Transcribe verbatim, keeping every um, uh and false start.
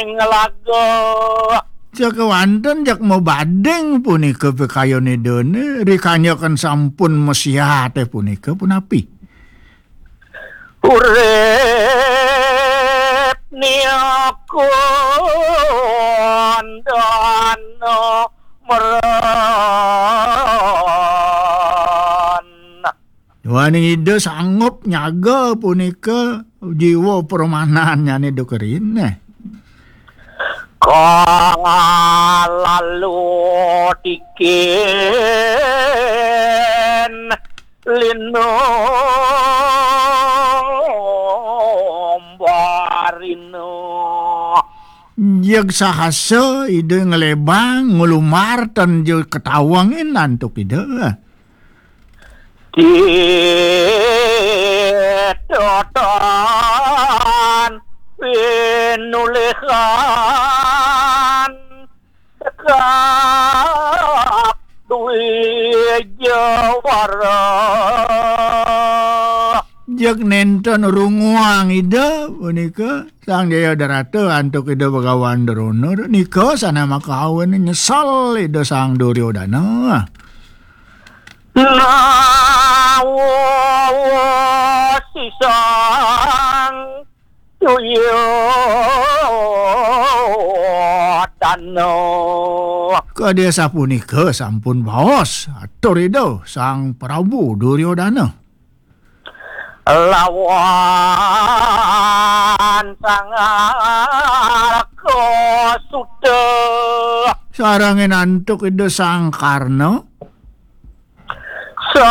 Ngelaga. Sakéwanten jak mabading punika pikayun Ida, rikala kan sampun masiat punika punapi? Urip niku dana meran. Duaning Ida sanggup nyaga punika jiwa pramanannyané Ida keriné. Kang lalu tikin linumbarina. Jeg sahasa Ida nglebang, nglumbar, tan ja katawangin antuk Ida. Titotan pinulihan tekap duwijawara. Jeg nénten runguang Ida punika Sang Jayadrata antuk Ida Bagawan Drona, nika sané makawin nyesel Ida Sang Duryodana. Nawa sisang Duryodana. Kadi sapunika sampun baos atur Ida Sang Prabu Duryodana. Lawan Sang Arka Suta. Sarengin antuk Ida Sang Karna. Sa